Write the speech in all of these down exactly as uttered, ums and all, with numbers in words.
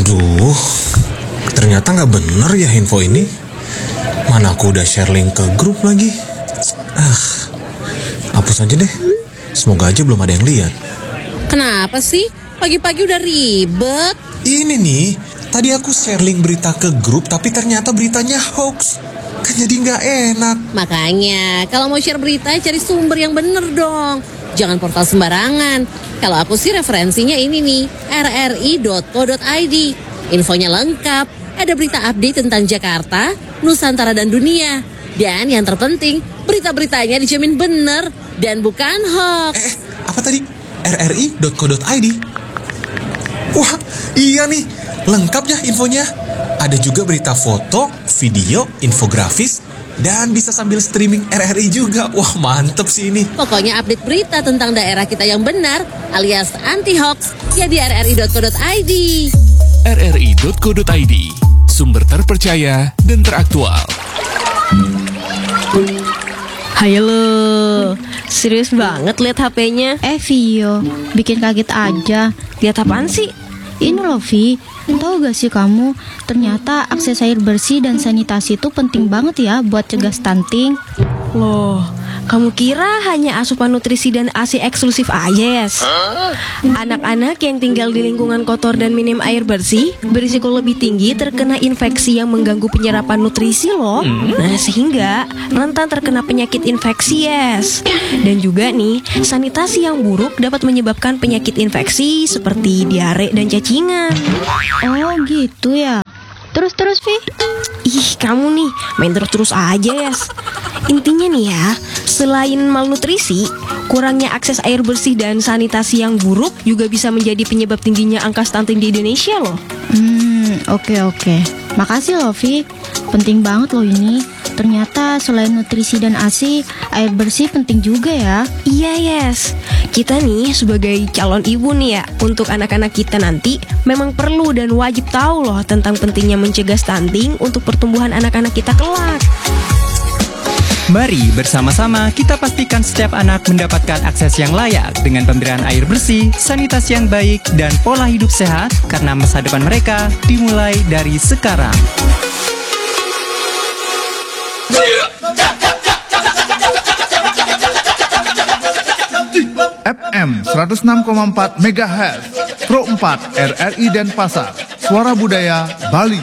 Duh, ternyata nggak bener ya info ini. Mana aku udah share link ke grup lagi. Ah, hapus aja deh. Semoga aja belum ada yang lihat. Kenapa sih? Pagi-pagi udah ribet. Ini nih, tadi aku share link berita ke grup tapi ternyata beritanya hoax. Kan jadi nggak enak. Makanya, kalau mau share berita, cari sumber yang bener dong. Jangan portal sembarangan. Kalau aku sih referensinya ini nih, rri.co.id. Infonya lengkap, ada berita update tentang Jakarta, Nusantara dan dunia. Dan yang terpenting, berita-beritanya dijamin bener dan bukan hoax. Eh, apa tadi? rri.co.id. Wah, iya nih, lengkap ya infonya. Ada juga berita foto, video, infografis, dan bisa sambil streaming R R I juga. Wah, mantep sih ini. Pokoknya update berita tentang daerah kita yang benar alias anti hoax ya di rri.co.id. rri.co.id, sumber terpercaya dan teraktual. Hai lo, serius banget lihat H P-nya? Eh Vio, bikin kaget aja. Lihat apaan sih? Ini loh Vi, tahu gak sih kamu, ternyata akses air bersih dan sanitasi itu penting banget ya buat cegah stunting. Loh, kamu kira hanya asupan nutrisi dan A S I eksklusif aja, Yes? Anak-anak yang tinggal di lingkungan kotor dan minim air bersih berisiko lebih tinggi terkena infeksi yang mengganggu penyerapan nutrisi loh. Nah, sehingga rentan terkena penyakit infeksi, Yes. Dan juga nih, sanitasi yang buruk dapat menyebabkan penyakit infeksi seperti diare dan cacingan. Oh gitu ya. Terus-terus Vi. Ih, kamu nih main terus-terus aja, Yes. Intinya nih ya, selain malnutrisi, kurangnya akses air bersih dan sanitasi yang buruk juga bisa menjadi penyebab tingginya angka stunting di Indonesia loh. Hmm, oke oke. Makasih loh Vi. Penting banget loh ini. Ternyata selain nutrisi dan A S I, air bersih penting juga ya. Iya, Yes. Kita nih sebagai calon ibu nih ya, untuk anak-anak kita nanti memang perlu dan wajib tahu loh tentang pentingnya mencegah stunting untuk pertumbuhan anak-anak kita kelak. Mari bersama-sama kita pastikan setiap anak mendapatkan akses yang layak dengan pemberian air bersih, sanitasi yang baik, dan pola hidup sehat karena masa depan mereka dimulai dari sekarang. F M seratus enam koma empat megahertz, Pro empat R R I Denpasar, Suara Budaya Bali.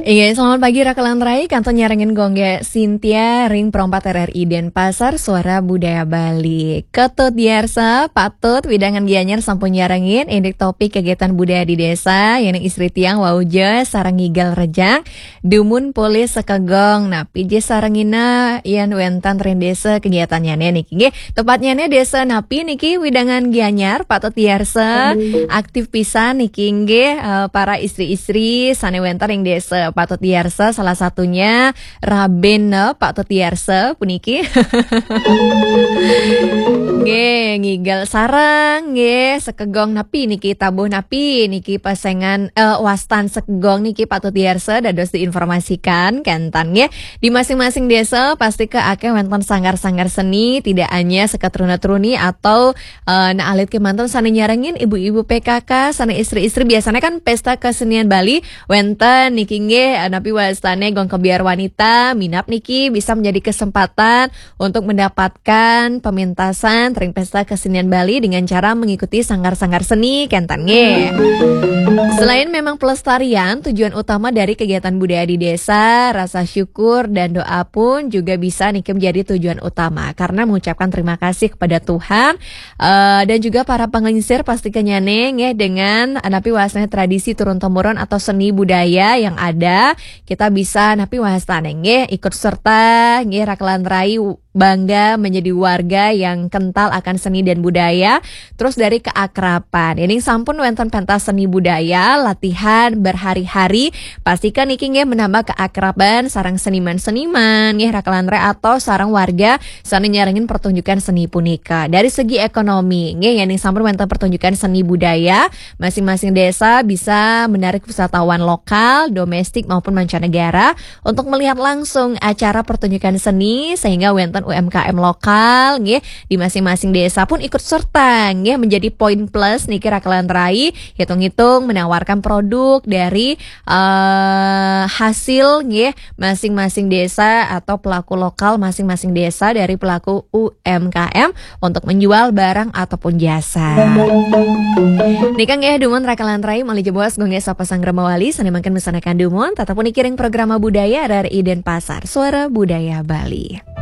Iya, selamat pagi Raka lan Rai, kantun nyarengin gongge Cynthia ring Pro empat R R I Denpasar, Suara Budaya Bali. Ketut Diarsa, Patut, Widangan Gianyar sampun nyarengin, indik topik kegiatan budaya di desa, yang istri tiang wauja, sarang ngigal rejang, dumun polih sekegong, napi je sarengina, yan wénten ring desa kegiatannyane niki nggih. Tepatnyane desa napi niki Widangan Gianyar, Patut Diarsa, aktif pisan niki nggih, eh, para istri-istri sane wénten ring desa Patut Diarsa, salah satunya Rabin, eh, Patut Diarsa puniki. Nggih, ngigal sareng nggih, sekegong napi niki, tabuh napi niki, pesengan, eh, wastan sekegong niki Patut Diarsa dados diinformasikan kenten nggih. Di masing-masing desa pasti ke akeh wénten sanggar-sanggar seni, tidak hanya seketruna-truni atau eh, nah, alit kemanten sane nyarengin ibu-ibu P K K, sane istri-istri, biasanya kan pesta kesenian Bali wénten niki nggih, eh, napi wastane gong kebyar wanita, minab niki bisa menjadi kesempatan untuk mendapatkan pemintasan ring pesta kesenian Bali dengan cara mengikuti sanggar-sanggar seni kenten nggih. Selain memang pelestarian, tujuan utama dari kegiatan budaya di desa, rasa syukur dan doa pun juga bisa niki menjadi tujuan utama karena mengucapkan terima kasih kepada Tuhan, eh, dan juga para penglingsir pasti kenyane nggih dengan napi wastane tradisi turun temurun atau seni budaya yang ada, kita bisa napi wastane nggih ikut serta nggih, Raka lan Rai, bangga menjadi warga yang kental akan seni dan budaya. Terus dari keakraban, ini sampun wénten pentas seni budaya, latihan berhari-hari, pastikan niki nggih menambah keakraban sareng seniman-seniman nggih, Raka lan Rai, atau sareng warga sane nyarengin pertunjukan seni punika. Dari segi ekonomi nggih, yen sampun wénten pertunjukan seni budaya, masing-masing desa bisa menarik wisatawan lokal, domestik maupun mancanegara untuk melihat langsung acara pertunjukan seni, sehingga wénten U M K M lokal nggih di masing-masing desa pun ikut serta nggih menjadi poin plus niki Raka lan Rai, hitung-hitung menawarkan produk dari eh, hasil nggih masing-masing desa atau pelaku lokal masing-masing desa dari pelaku U M K M untuk menjual barang ataupun jasa. Nika nggih dumun Raka lan Rai malih jebos nggih sapa sang remawali sane mangkin mesanakan dumun tetap pun kiring programa budaya R R I Denpasar Suara Budaya Bali.